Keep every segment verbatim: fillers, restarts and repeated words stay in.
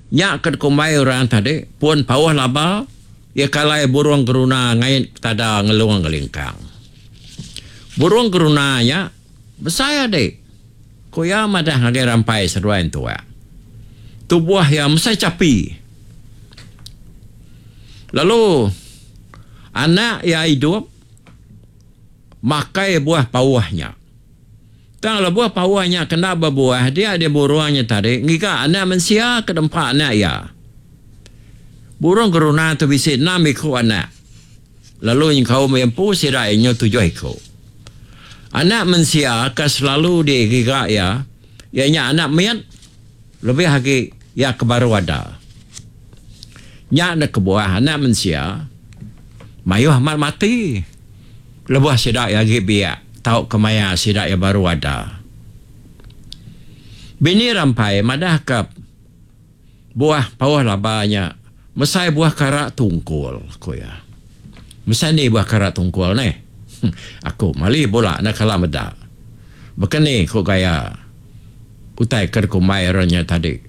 Nya ke dikumbai orang tadi pun pauh laba iya ke alai burung geruna ngait tada ngelung ngelingkang. Burung geruna nya besai adi, ku iya madah ngagai Rampai seduai entuak. Tubuh iya mesai chapi. Lalu anak iya idup makai buah pauh nya. Tang lebuh pauh nya kena bebuah dia dia burung nya tadi ngiga anak mensia ke dempa anak iya. Burung geruna tu bisi enam iku anak lalu nyengkaum iya empu sida iya nyau tujuh iku. Anak mensia ke selalu digiga iya, iya nya anak mit lebih agi iya ke baru ada. Nya enda kebuah anak mensia mayuh amat mati lebuh sida iya agi biak tauka maya sida iya baru ada. Bini Rampai madahka buah pauh laba nya mesai buah kara tungkul, ku iya. Mesai ni buah kara tungkul neh? Aku mali bula enda kala meda. Baka ni ku gaya utai ke dikumbai orang nya tadi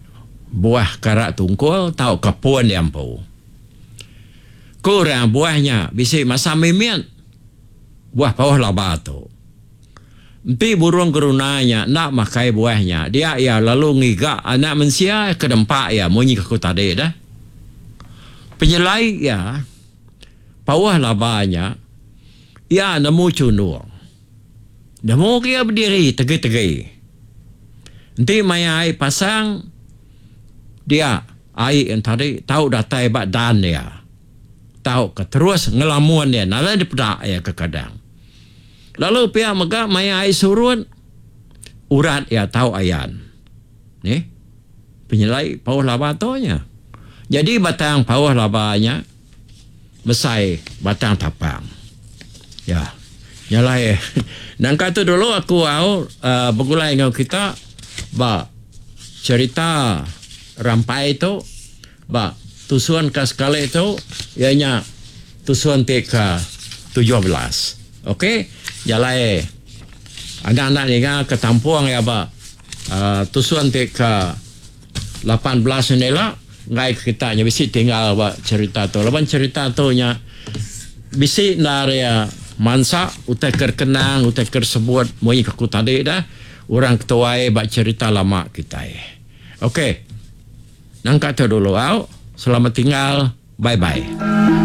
buah kara tungkul tauka pun iya empu. Ku orang buah nya bisi masam mimit buah pauh laba tu. Enti burung geruna nya enda makai buah nya dia iya lalu ngiga anak mensia ke dempa iya munyi ke aku tadi dah. Penyelai iya pauh laba nya iya nemu chundung. Nemu ke iya bediri tegi-tegi. Enti maya ai pasang dia ai entadi tau datai ba dan iya. Tauka terus ngelamun iya nadai dipeda iya kekadang. Lalu pia mega maya ai surut urat iya tau ayan. Nih penyelai pauh laba tu nya. Nyadi batang pauh laba nya mesai batang tapang. Ya. Nya alai nangka tu dulu aku au uhh begulai enggau kita ba cherita rampai tu ba tusun ka sekali tu iya nya tusun ti ka tujuh belas. Ok nya alai anak-anak ninga ke tampung iya ba uhh tusun ti ka lapan belas nya ila enggai ke kita nya bisi tinggal ba cherita tu laban cherita tu nya bisi endar iya mansa utai ke kenang utai ke sebut munyi ke aku tadi dah orang ketuai ba cherita lama kitai. Ok nangka tu dulu au selamat tinggal bye bye.